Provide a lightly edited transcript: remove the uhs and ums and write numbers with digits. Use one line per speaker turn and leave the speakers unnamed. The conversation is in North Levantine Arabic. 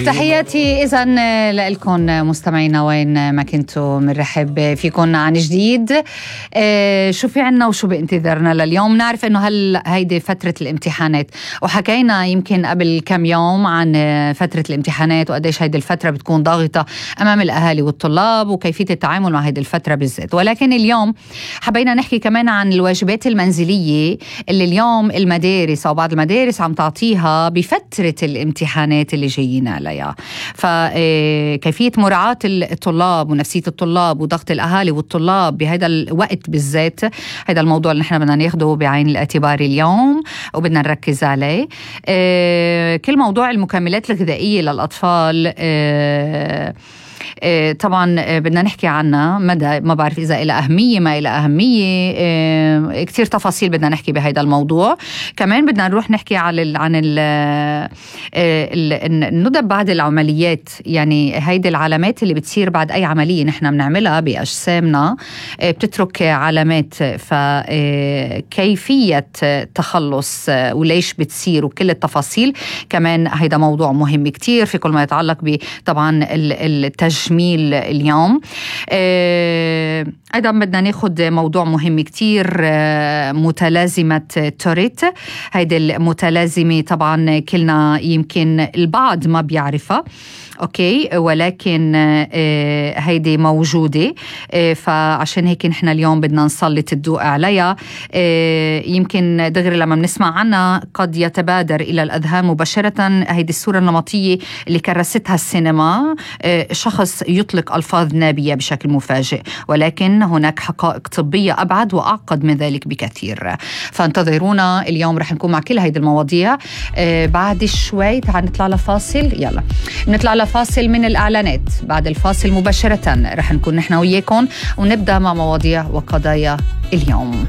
تحياتي إذن لكم مستمعينا وين ما كنتوا، منرحب فيكم عن جديد. شو في عنا وشو بانتظارنا لليوم؟ نعرف إنه هيدي فترة الامتحانات، وحكينا يمكن قبل كم يوم عن فترة الامتحانات وقديش هيدي الفترة بتكون ضاغطة أمام الأهالي والطلاب وكيفية التعامل مع هيدي الفترة بالذات. ولكن اليوم حبينا نحكي كمان عن الواجبات المنزلية اللي اليوم المدارس أو بعض المدارس عم تعطيها بفترة الامتحانات اللي جايين عليها. فكيفية مراعاة الطلاب ونفسية الطلاب وضغط الأهالي والطلاب بهذا الوقت بالذات، هذا الموضوع اللي نحن بدنا ناخده بعين الاعتبار اليوم وبدنا نركز عليه. كل موضوع المكملات الغذائية للأطفال طبعا بدنا نحكي عنها مدى، ما بعرف إذا إلى أهمية ما إلى أهمية، كتير تفاصيل بدنا نحكي بهذا الموضوع. كمان بدنا نروح نحكي عن ندب بعد العمليات، يعني هيدي العلامات اللي بتصير بعد أي عملية نحن بنعملها بأجسامنا بتترك علامات، فكيفية تخلص وليش بتصير وكل التفاصيل. كمان هيدا موضوع مهم كتير في كل ما يتعلق بطبعا التجميل اليوم. أيضا بدنا ناخد موضوع مهم كتير، متلازمة توريت. هيدي المتلازمة طبعا كلنا يمكن البعض ما بيعرفها، أوكي، ولكن هيدي موجودة، فعشان هيك نحن اليوم بدنا نسلط الضوء عليها. يمكن دغري لما بنسمع عنها قد يتبادر إلى الأذهان مباشرة هيدي الصورة النمطية اللي كرستها السينما، شخص يطلق ألفاظ نابية بشكل مفاجئ، ولكن هناك حقائق طبية أبعد وأعقد من ذلك بكثير. فانتظرونا اليوم، رح نكون مع كل هيدي المواضيع. بعد شوي تعال نطلع لفاصل، يلا نطلع فاصل من الإعلانات. بعد الفاصل مباشرة رح نكون نحن وياكم ونبدأ مع مواضيع وقضايا اليوم.